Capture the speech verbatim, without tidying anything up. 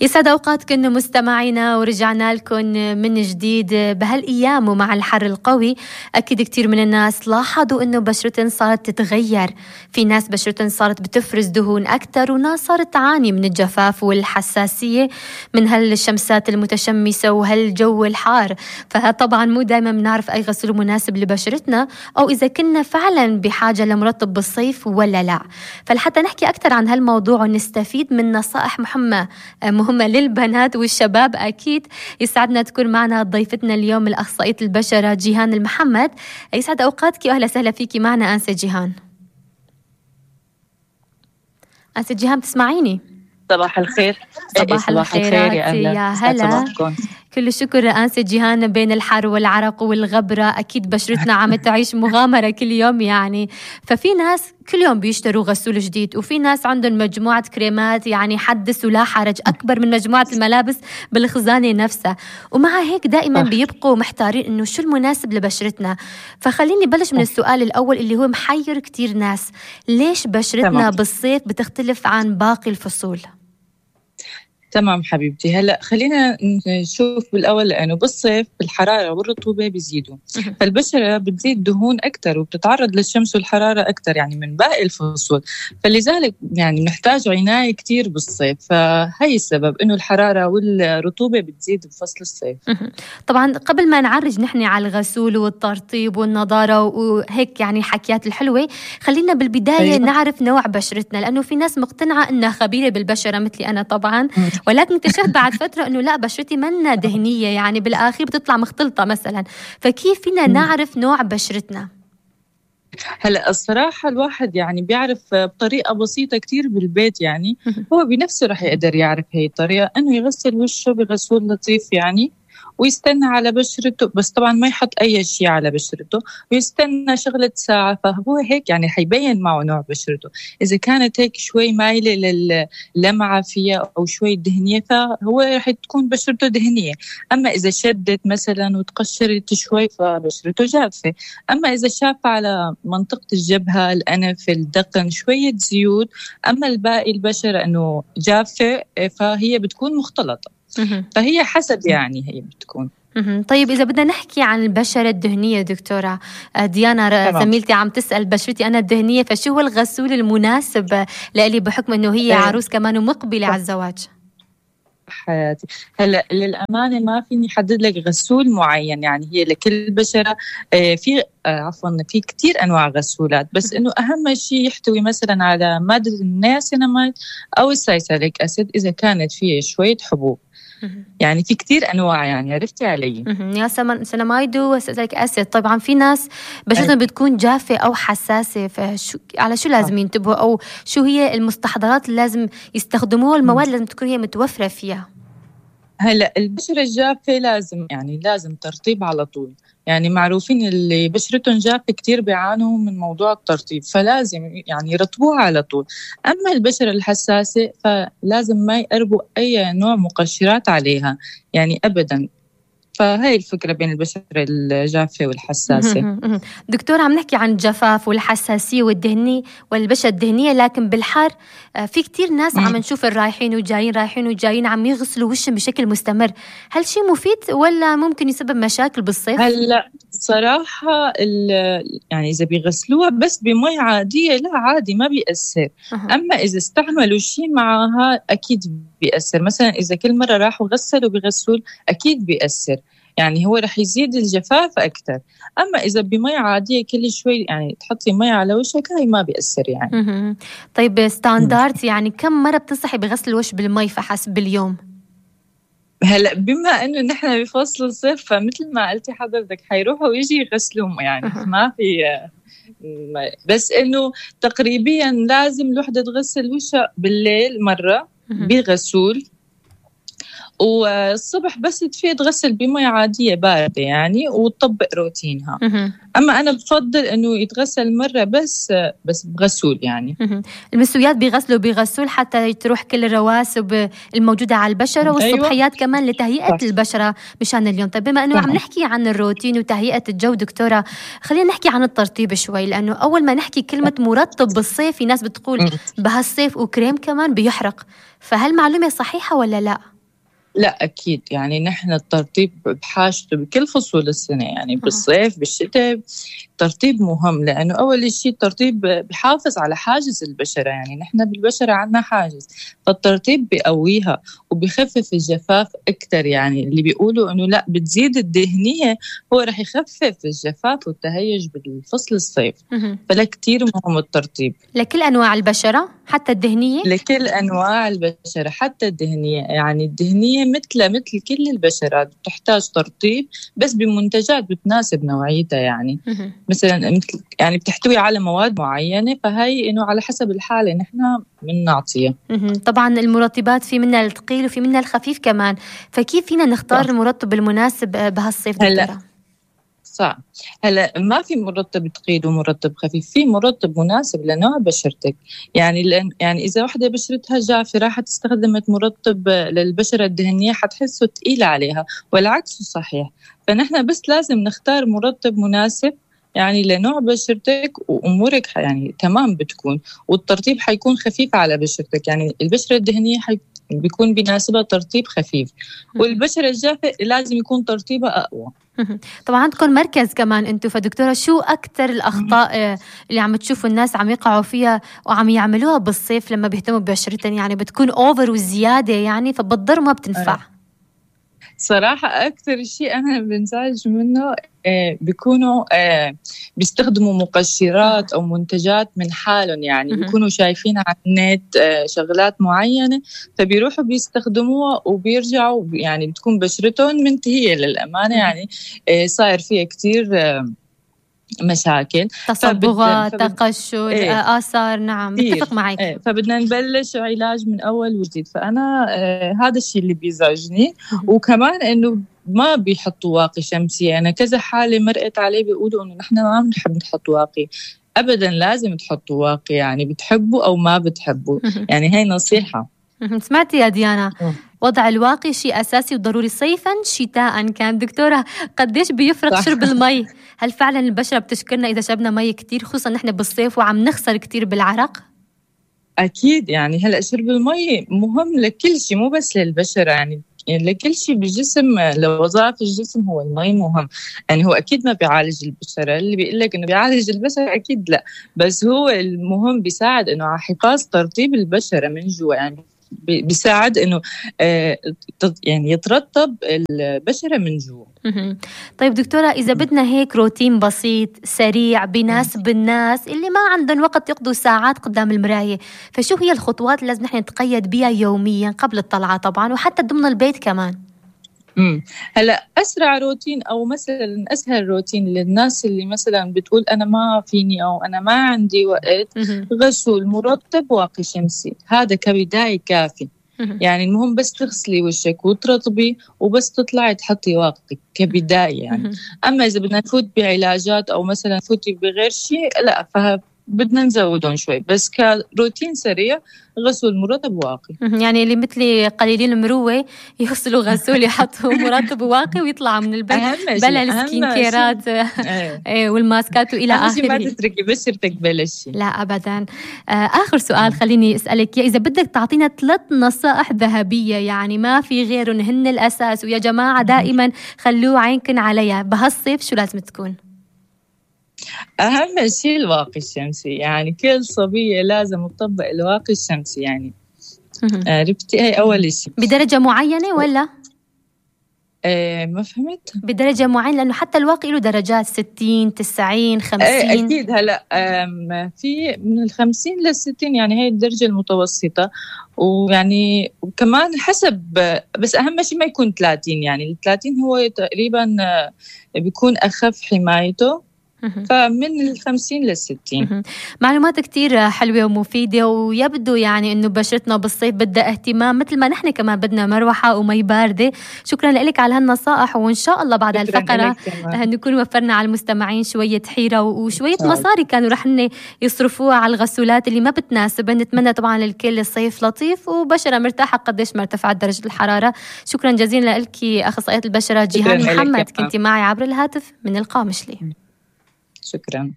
يسعد أوقاتكم مستمعينا، ورجعنا لكم من جديد بهالأيام ومع الحر القوي. أكيد كتير من الناس لاحظوا إنه بشرتهم صارت تتغير، في ناس بشرتهم صارت بتفرز دهون أكتر، وناس صارت تعاني من الجفاف والحساسية من هالشمسات المتشمسة وهالجو الحار. فطبعا مو دايما بنعرف أي غسول مناسب لبشرتنا، أو إذا كنا فعلا بحاجة لمرطب بالصيف ولا لا. فلحتى نحكي أكتر عن هالموضوع ونستفيد من نصائح مهمة مهمة للبنات والشباب، أكيد يسعدنا تكون معنا ضيفتنا اليوم الأخصائية البشرة جيهان المحمد. يسعد أوقاتك وأهلا سهلا فيكي معنا أنسة جيهان. أنسة جيهان بتسمعيني؟ صباح الخير. صباح الخير يا, يا هلا. كل الشكر أنسة جيهان. بين الحر والعرق والغبرة أكيد بشرتنا عم تعيش مغامرة كل يوم يعني. ففي ناس كل يوم بيشتروا غسول جديد، وفي ناس عندهم مجموعة كريمات يعني حدث ولا حرج أكبر من مجموعة الملابس بالخزانة نفسها، ومع هيك دائما بيبقوا محتارين إنه شو المناسب لبشرتنا. فخليني بلش من السؤال الأول اللي هو محير كتير ناس، ليش بشرتنا تمام. بالصيف بتختلف عن باقي الفصول؟ تمام حبيبتي. هلأ خلينا نشوف بالأول، لأنه بالصيف الحرارة والرطوبة بيزيدوا، فالبشرة بتزيد دهون أكتر وبتتعرض للشمس والحرارة أكتر يعني من باقي الفصول، فلذلك يعني نحتاج عناية كتير بالصيف. فهي السبب إنه الحرارة والرطوبة بتزيد بفصل الصيف. طبعا قبل ما نعرج نحن على الغسول والترطيب والنضارة وهيك يعني حكيات الحلوة، خلينا بالبداية أيوة. نعرف نوع بشرتنا، لأنه في ناس مقتنعة إنها خبيرة بالبشرة مثلي أنا طبعا، ولكن اكتشفت بعد فترة إنه لا، بشرتي منا دهنية يعني بالآخر بتطلع مختلطة مثلا. فكيف فينا نعرف نوع بشرتنا؟ هلا الصراحة الواحد يعني بيعرف بطريقة بسيطة كتير بالبيت، يعني هو بنفسه رح يقدر يعرف هي الطريقة، إنه يغسل وشه بغسول لطيف يعني، ويستنى على بشرته، بس طبعا ما يحط أي شيء على بشرته، ويستنى شغلة ساعة. فهو هيك يعني حيبين معه نوع بشرته. إذا كانت هيك شوي مايلة للمعة فيها أو شوي دهنية، فهو رح تكون بشرته دهنية. أما إذا شدت مثلا وتقشرت شوي فبشرته جافة. أما إذا شاف على منطقة الجبهة، الأنف، الدقن شوية زيوت، أما الباقي البشرة أنه جافة، فهي بتكون مختلطة. فهي حسب يعني هي بتكون. طيب إذا بدنا نحكي عن البشرة الدهنية دكتورة ديانا زميلتي عم تسأل، بشرتي أنا الدهنية، فشو هو الغسول المناسب لإلي بحكم أنه هي عروس كمان ومقبلة على الزواج؟ حياتي هلا للأمانة ما فيني حدد لك غسول معين، يعني هي لكل بشرة في عفوا في كتير أنواع غسولات، بس إنه أهم شيء يحتوي مثلا على مادة النياسيناميد أو السايساليك أسيد إذا كانت فيه شوية حبوب. يعني في كتير أنواع، يعني عرفتي علي يا سيناميد وسايساليك أسيد. طبعا في ناس بشرتهم بتكون جافة أو حساسة، فشو على شو لازم ينتبهوا، أو شو هي المستحضرات اللي لازم يستخدموها، المواد لازم تكون هي متوفرة فيها؟ هلا البشرة الجافة لازم يعني لازم ترطيب على طول، يعني معروفين اللي بشرتهم جافة كتير بيعانوا من موضوع الترطيب، فلازم يعني يرطبوها على طول. أما البشرة الحساسة فلازم ما يقربوا أي نوع مقشرات عليها يعني أبداً. فهي الفكرة بين البشرة الجافة والحساسة. دكتور عم نحكي عن الجفاف والحساسية والدهنية والبشرة الدهنية، لكن بالحر في كتير ناس عم نشوف الرايحين وجايين رايحين وجايين عم يغسلوا وشهم بشكل مستمر. هل شيء مفيد ولا ممكن يسبب مشاكل بالصيف؟ هلا صراحة يعني إذا بيغسلوها بس بمي عادية لا عادي ما بيأثر. أه. أما إذا استعملوا شيء معها أكيد بيأثر، مثلا إذا كل مرة راحوا غسلوا بغسول أكيد بيأثر، يعني هو رح يزيد الجفاف أكتر. أما إذا بمي عادية كل شوي يعني تحطي مي على وشك هاي ما بيأثر يعني. مه. طيب ستاندارد يعني كم مرة بتنصحي بغسل الوش بالمي فحسب باليوم؟ هلا بما انه نحن بفصل الصيف فمثل ما قلتي حضرتك حيروحوا ويجي يغسلوهم يعني أه. ما في، بس انه تقريبا لازم الوحده تغسل وشها بالليل مره بغسول، والصبح بس تفيق تغسل بمية عادية باردة يعني وتطبق روتينها. أما أنا بفضل إنه يتغسل مرة بس بس بغسول يعني. المسويات بيغسلوا بغسول حتى تروح كل الرواسب الموجودة على البشرة، والصبحيات أيوة. كمان لتهيئة صح. البشرة مشان اليوم. طيب بما إنه عم نحكي عن الروتين وتهيئة الجو دكتورة، خلينا نحكي عن الترطيب شوي، لأنه أول ما نحكي كلمة مرطب بالصيف في ناس بتقول بهالصيف وكريم كمان بيحرق، فهل معلومة صحيحة ولا لا؟ لا أكيد، يعني نحن الترطيب بحاجته بكل فصول السنة، يعني بالصيف بالشتاء الترطيب مهم، لأنه أول شيء الترطيب بحافظ على حاجز البشرة، يعني نحن بالبشرة عنا حاجز، فالترطيب بيقويها وبيخفف الجفاف أكتر. يعني اللي بيقولوا أنه لا بتزيد الدهنية هو رح يخفف الجفاف والتهيج بالفصل الصيف. فلا كتير مهم الترطيب لكل أنواع البشرة حتى الدهنية، لكل أنواع البشرة حتى الدهنية. يعني الدهنية مثل مثل كل البشرات بتحتاج ترطيب بس بمنتجات بتناسب نوعيتها، يعني مثلا مثل يعني بتحتوي على مواد معينة، فهي إنه على حسب الحالة نحن بنعطيها. طبعا المرطبات في منها الثقيل وفي منها الخفيف كمان، فكيف فينا نختار المرطب المناسب بهالصيف دكتورة؟ صح. هلا ما في مرطب ثقيل ومرطب خفيف، في مرطب مناسب لنوع بشرتك. يعني لأن يعني إذا واحدة بشرتها جافة راح تستخدمت مرطب للبشرة الدهنية حتحسه ثقيل عليها، والعكس صحيح. فنحن بس لازم نختار مرطب مناسب يعني لنوع بشرتك، وأمورك يعني تمام بتكون، والترطيب حيكون خفيف على بشرتك. يعني البشرة الدهنية حي بيكون بيناسبها ترطيب خفيف، والبشرة الجافة لازم يكون ترطيبها أقوى. طبعا عندكم مركز كمان انتم، فدكتورة شو أكتر الأخطاء اللي عم تشوفوا الناس عم يقعوا فيها وعم يعملوها بالصيف لما بيهتموا ببشرتهم؟ يعني بتكون أوفر وزيادة يعني فبتضر ما بتنفع. صراحة أكثر شيء أنا بنزعج منه آه بيكونوا آه بيستخدموا مقشرات أو منتجات من حالهم، يعني بيكونوا شايفين على النت آه شغلات معينة فبيروحوا بيستخدموها وبيرجعوا، يعني بتكون بشرتهم منتهية للأمانة، يعني آه صاير فيها كتير آه مشاكل، تصبغات، تقشر، ايه آثار. نعم متفق معك. ايه فبدنا نبلش علاج من أول وجديد. فأنا آه هذا الشيء اللي بيزعجني. وكمان إنه ما بيحطوا واقي شمسي. أنا كذا حالة مرقت عليه بيقولوا إنه نحن ما بنحب نحط واقي. أبدا لازم تحطوا واقي، يعني بتحبوا أو ما بتحبوا، يعني هاي نصيحة. سمعتي يا ديانا؟ وضع الواقي شيء أساسي وضروري صيفاً شتاءً. كان دكتورة قديش بيفرق صح. شرب المي؟ هل فعلاً البشرة بتشكرنا إذا شربنا مي كتير، خصوصاً نحن بالصيف وعم نخسر كتير بالعرق؟ أكيد، يعني هلأ شرب المي مهم لكل شيء، مو بس للبشرة، يعني لكل شيء بالجسم، لوظائف الجسم هو المي مهم. يعني هو أكيد ما بيعالج البشرة، اللي بيقول لك إنه بيعالج البشرة أكيد لا، بس هو المهم بيساعد إنه على حفاظ ترطيب البشرة من جوا، يعني بيساعد إنه آه يعني يترطب البشرة من جوا. طيب دكتورة، إذا بدنا هيك روتين بسيط سريع بيناسب الناس اللي ما عندهم وقت يقضوا ساعات قدام المراية، فشو هي الخطوات اللي لازم نحن نتقيد بها يوميا قبل الطلعة طبعا وحتى ضمن البيت كمان؟ امم هلا اسرع روتين او مثلا اسهل روتين للناس اللي مثلا بتقول انا ما فيني او انا ما عندي وقت، غسول مرطب واقي شمسي، هذا كبداية كافي. يعني المهم بس تغسلي وشك وترطبي وبس تطلعي تحطي واقي كبداية يعني. اما اذا بدنا نفوت بعلاجات او مثلا نفوتي بغير شيء لا، فها بدنا نزودهم شوي، بس كروتين سريع غسول مرطب واقي. يعني اللي مثلي قليلين المروة يغسلوا غسول يحطوا مرطب واقي ويطلعوا من البيت بلا السكين كيرات ايه والماسكات والى اخره. ما تتركي بشرتك بلا شيء. لا ابدا. اخر سؤال خليني اسالك اذا بدك تعطينا ثلاث نصائح ذهبيه يعني ما في غيرهم هن الاساس، ويا جماعه دائما خلوا عينكم عليها بهالصيف، شو لازم تكون؟ أهم شيء الواقي الشمسي، يعني كل صبية لازم تطبق الواقي الشمسي، يعني عرفتي؟ هي أول شيء. بدرجة معينة ولا؟ ايه ما فهمت. بدرجة معينة لأنه حتى الواقي له درجات ستين تسعين خمسين. ايه أكيد. هلأ في من الخمسين للستين، يعني هي الدرجة المتوسطة، ويعني كمان حسب، بس أهم شيء ما يكون ثلاثين، يعني الثلاثين هو تقريبا بيكون أخف حمايته فمن الخمسين للستين. معلومات كتير حلوة ومفيدة، ويبدو يعني إنه بشرتنا بالصيف بدها اهتمام مثل ما نحن كمان بدنا مروحة ومي باردة. شكرا لك على هالنصائح، وإن شاء الله بعد هالفقرة نكون وفرنا على المستمعين شوية حيرة وشوية مصاري كانوا رح يصرفوها على الغسولات اللي ما بتناسب. نتمنى طبعا للكل الصيف لطيف وبشرة مرتاحة قديش ما ارتفعت درجة الحرارة. شكرا جزيلا لك أخصائية البشرة جيهان محمد، كنتي معي عبر الهاتف من القامشلي. شكرا.